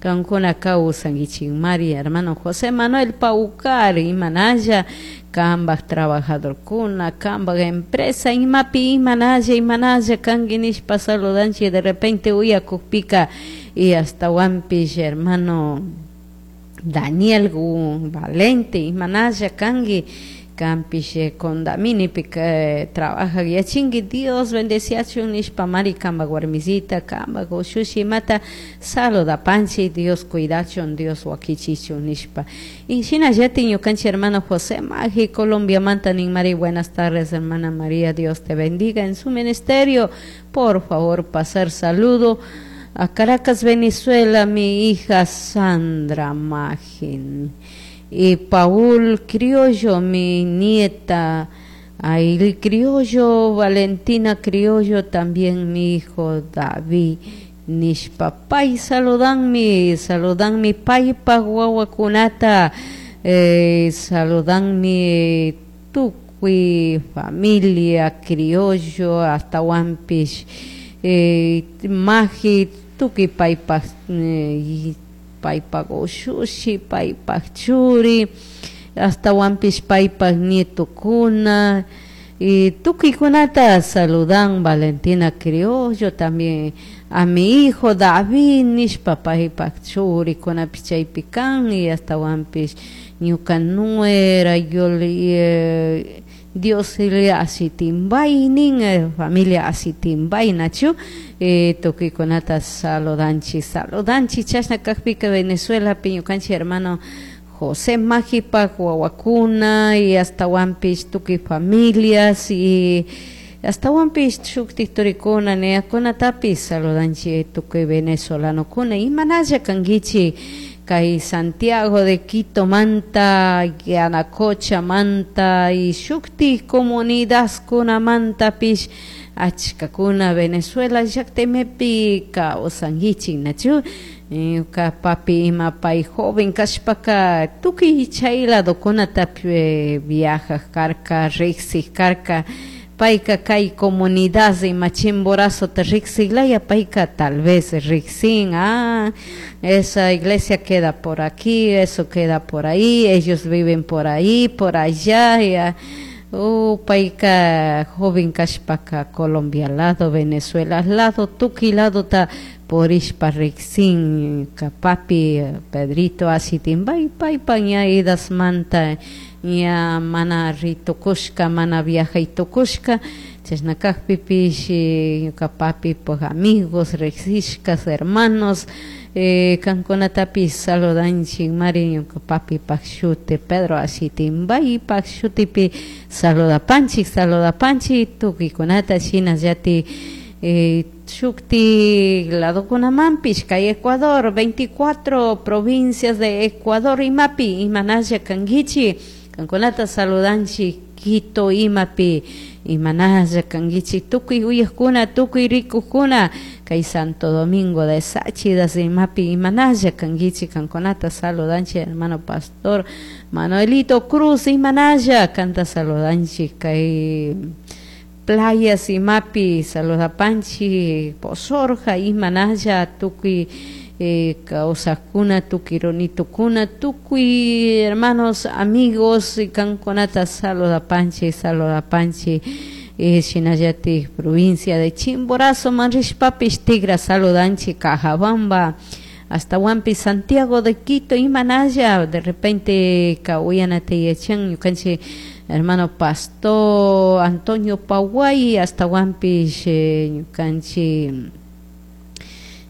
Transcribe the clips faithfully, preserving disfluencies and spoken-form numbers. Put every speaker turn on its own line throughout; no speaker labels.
Kankuna kawsankichikmari hermano José Manuel Paucar, imanalla kambak trabajadorkuna, kambak empresa imapi imanalla imanalla kanki nishpa saludanchik de repente uyakukpika. Y ashtawanpish hermano Daniel Valente, imanalla kanki, kanpish Condaminipi trabaja yachinki, Dios bendeciachun nishpa mari kambak warmisita, kambak ushushi imata saludapanchik, Dios cuidachun, Dios wakichichun nishpa. Y shinallatik ñukanchik hermano José Magi Colombiamanta nin mari: "Buenas tardes, hermana María, Dios te bendiga en su ministerio. Por favor, pasar saludo a Caracas, Venezuela, mi hija Sandra Magin y Paul Criollo, mi nieta Ail Criollo, Valentina Criollo, también mi hijo David" nishpa pay saludanmi, saludanmi paypak wawakunata, eh, saludanmi tukuy familia Criollo, ashtawanpish eh, Magi, tukuy paypak eh, paypak ushushi, paypak churi, ashtawanpish paypak nietukuna y tukuykunata saludan. Valentina Criollo, también a mi hijo David nishpa paypak churikunapish chaypi kan. Y ashtawanpish ñuka nuera Yoli, eh, Dios Asitimbay nin, eh, familia Asitimbay, nachu eh, tukuykunata saludanchik, saludanchik. Chashna kakpika Venezuelapi ñukanchik hermano José Magipak wawakuna y ashtawanpish tukuy familias y ashtawanpish shuktik turikuna neyakunatapish saludanchik. Tukuy venezolanokuna, imanalla kankichik kay Santiago de Quito manta, Yanacocha manta y shuktik comunidadkunamantapish achkakuna Venezuela llaktamipi kawsankichik, nachu? Ñuka papi ima pay joven kashpaka tukuy chay ladokunata viajak karka, riksik karka. Payka kay comunidad ima Chimborazota riksiklaya payka tal vez riksin: "Ah, esa iglesia queda por aquí, eso queda por ahí, ellos viven por ahí, por allá". Ya. Oh, payka joven kashpaka Colombia lado, Venezuela lado, tukuy ladota purishpa riksin papi Pedrito Asitimbay. Paypa ña edadmanta ña mana ritukushka, mana viajay tukushka. Chashna kakpipish ñuka papipak amigos riksishkas, hermanos, eh, kankunatapish saludanchik mari ñuka papipak shuti Pedro Asitimbaypak shutipi saludapanchik, saludapanchik tukuykunata. Shinallatik eh, shuktik ladokunamanpish kay Ecuador, veinticuatro provincias de Ecuador imapi imanalla kankichik, kankunata saludanchik. Quito imapi imanalla kankichik, tukuy uyakuna, tukuy rikukuna, kay Santo Domingo de Tsáchilas imapi imanalla kankichik, kankunata saludanchik. Hermano pastor Manuelito Cruz, imanalla kanta saludanchik. Kay playas imapi saludapanchik, Posorja imanalla tukuy eh, kawsakuna, tukuy runitukuna, tukuy hermanos, amigos, kankunata saludapanchik, saludapanchik. eh, shinallatik provincia de Chimborazo man rishpapish tigra saludanchik, Cajabamba, ashtawanpish Santiago de Quito imanalla de repente ka uyanata yachan ñukanchik hermano pastor Antonio Paguay, ashtawanpish eh, ñukanchik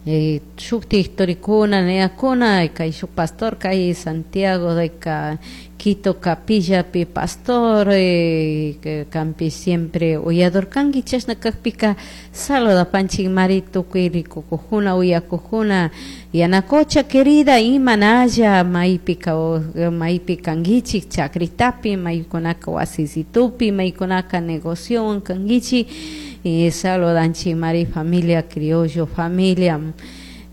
eh, shuktik turikuna neyakuna kay shuk pastor kay Santiago de ka Quito capillapi pastor, eh, kanpish siempre uyador kanki. Chashna kakpika saludapanchik mari tukuy rikukujuna, uyakujuna. Yanacocha querida, imanalla maypi maypi kankichik, chakritapi maykunaka, wasisitupi maykunaka, negociowan kankichik, y saludanchik mari familia Criollo, familia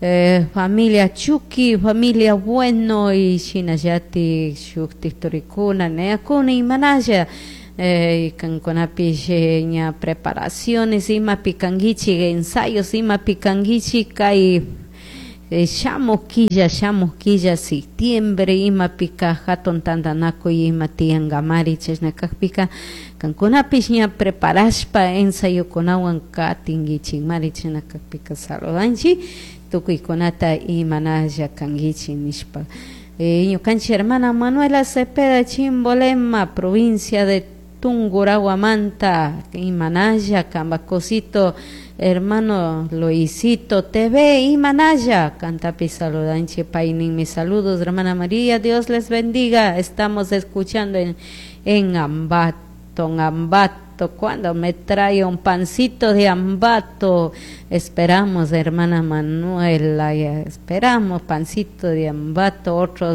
eh, familia Chucky, familia Bueno y shinallatik shuktik turikuna neyakuna imanalla eh, kankunapish eh, ña preparaciones imapi kankichik, ensayos imapi kankichik kay eh, shamuj killa shamuj killa septiembre imapika hatun tantanakuy ima tiyankamari chashna kakpika kankunapish ña preparashpa ensayokunawan katinkichikmari chashna kakpika saludanchik tukuykunata imanalla kankichik nishpa. Eh, ñukanchik hermana Manuela Cepeda Chimbolema provincia de Tungurahuamanta imanalla Cambacosito hermano Luisito T V imanalla kantapi saludanchik payninmi saludos, hermana María, Dios les bendiga, estamos escuchando en, en Ambato, en Ambato. Cuando me trae un pancito de Ambato, esperamos, hermana Manuela, esperamos pancito de Ambato, otro.